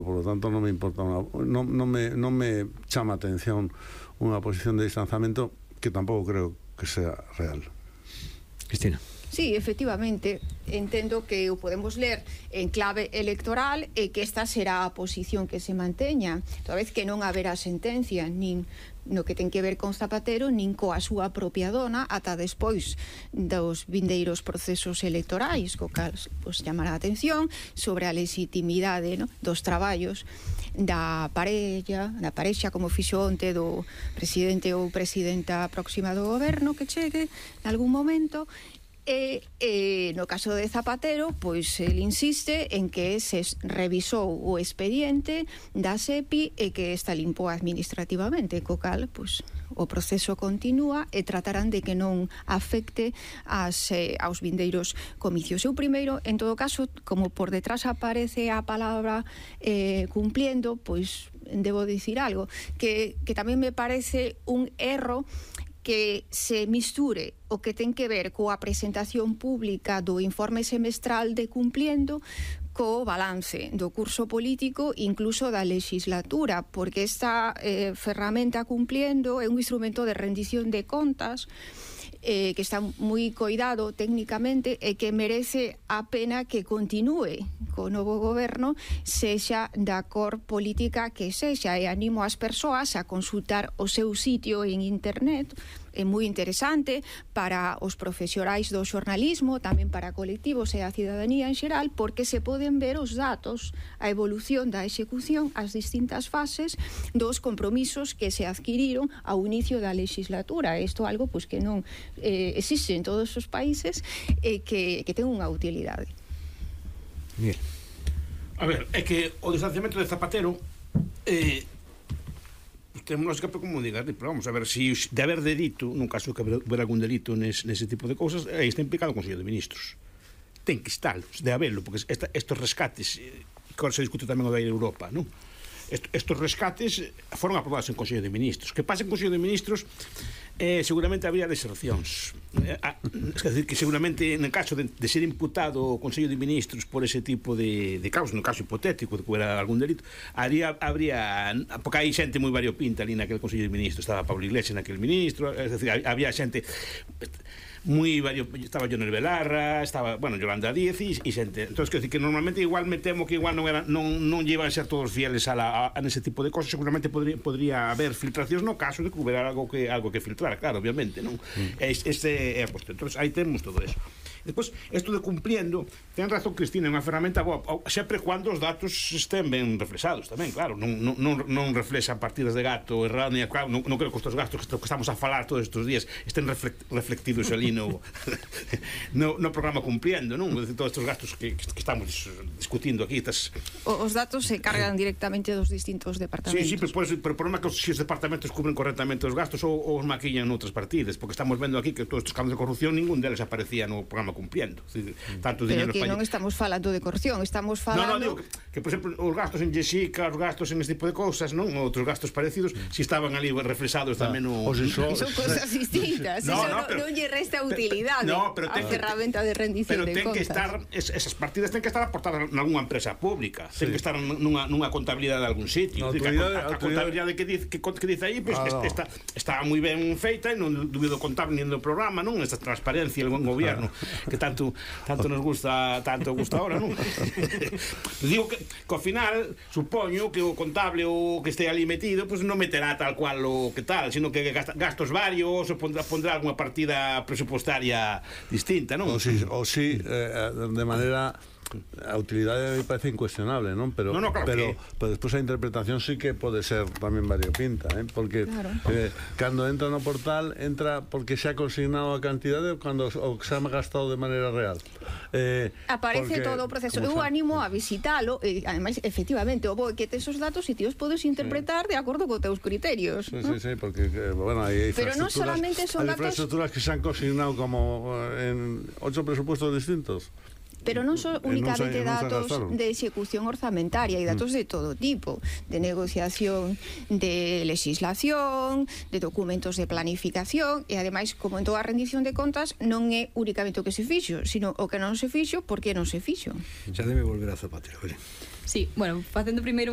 Por lo tanto, non me importa non me chama a atención unha posición de distanciamento que tampouco creo que sea real. Cristina. Sí, efectivamente, entendo que o podemos ler en clave electoral e que esta será a posición que se manteña, toda vez que non haberá sentencia nin no que ten que ver con Zapatero nin coa súa propia dona ata despois dos vindeiros procesos electorais, co cal pues, chamará a atención sobre a legitimidade, no, dos traballos da parexa como fixo onte do presidente ou presidenta próxima do goberno que chegue en algún momento. E no caso de Zapatero, pois el insiste en que se revisou o expediente da SEPI e que está limpo administrativamente, co cal, pois, o proceso continúa e tratarán de que non afecte aos vindeiros comicios. Eu primeiro, en todo caso, como por detrás aparece a palabra cumpliendo, pois debo dicir algo, que tamén me parece un erro que se misture o que ten que ver coa presentación pública do informe semestral de Cumpliendo co balance do curso político, incluso da legislatura, porque esta ferramenta Cumpliendo é un instrumento de rendición de contas que está moi coidado técnicamente e que merece a pena que continúe co novo goberno, sexa da cor política que sexa, e animo as persoas a consultar o seu sitio en internet. É moi interesante para os profesionais do xornalismo, tamén para colectivos e a cidadanía en xeral, porque se poden ver os datos, a evolución da execución, as distintas fases dos compromisos que se adquiriron ao inicio da legislatura. Isto é algo pois, que non existe en todos os países e que ten unha utilidade. Miguel. A ver, é que o distanciamento de Zapatero temos lógica para como digas, pero vamos a ver, se de haber delito, nun caso que haber algún delito nese tipo de cousas, aí está implicado o Consello de Ministros. Ten que estar, de haberlo, porque estos rescates que agora se discute tamén o da Europa, non? Estos rescates foron aprobados en Consello de Ministros. Que pasa en Consello de Ministros seguramente habría desercións. É dicir, que seguramente en caso de ser imputado o Consello de Ministros por ese tipo de causas, no caso hipotético de que hubiera algún delito, habría porque hai xente moi variopinta ali naquele Consello de Ministros. Estaba Pablo Iglesias naquele ministro, é dicir, había xente moi vario, estaba Jonel Belarra, estaba, bueno, Yolanda Díez e xente. Entón, quero dicir que normalmente igual me temo que igual non llevan a ser todos fieles a nese tipo de cosas. Seguramente podría haber filtracións no caso de que hubiera algo que filtrar, claro, obviamente, non? Este é a cuestión. Entón, aí temos todo eso. Despois, isto de Cumpliendo, ten razón Cristina, é unha ferramenta boa, sempre cando os datos estén ben reflexados tamén, claro, non reflexan partidas de gato errónea, claro, non creo que estes gastos que estamos a falar todos estes días estén reflectidos ali no programa Cumpliendo, non? Todos estes gastos que estamos discutindo aquí, os datos se cargan directamente dos distintos departamentos. Sí, pero o problema é que se os departamentos cubren correctamente os gastos ou os maquillan noutras partidas, porque estamos vendo aquí que todos estes campos de corrupción ningún deles aparecía no programa Cumpliendo. Tanto pero que non estamos falando de corrupción, estamos falando... Non, digo que, por exemplo, os gastos en Jessica, os gastos en este tipo de cousas, non? Outros gastos parecidos, si estaban ali reflexados tamén no... Son cousas distintas, non lle resta utilidade a ferramenta de rendición de contas. Pero ten que estar, esas partidas ten que estar aportadas nalgúnha empresa pública, ten que estar nunha contabilidade de algún sitio. A contabilidade que dice aí, está moi ben feita, e non dubido contable nin do programa, non? Esta transparencia do goberno que tanto nos gusta ahora, non? Digo que ao final supoño que o contable o que este ali metido pues non meterá tal cual o que tal, sino que gastos varios ou pondrá alguna partida presupostaria distinta, non? O sí, de manera... A utilidade me parece incuestionable, non? Pero despois a interpretación sí que pode ser tamén variopinta, porque cando entra no portal entra porque se ha consignado a cantidade cando o que se ha gastado de maneira real. Aparece todo o proceso. Eu animo a visitalo e ademais efectivamente o bo que tes os datos e ti os podes interpretar de acordo co teus criterios. Sí, porque bueno, hai pero non solamente son datos, infraestructuras que se han consignado como en 8 presupuestos distintos. Pero non son únicamente datos de execución orzamentaria, hai datos de todo tipo, de negociación de legislación, de documentos de planificación, e ademais, como en toda a rendición de contas, non é únicamente o que se fixo, sino o que non se fixo, por que non se fixo. Xa debe volver a Zapatero, vale? Sí, bueno, facendo primeiro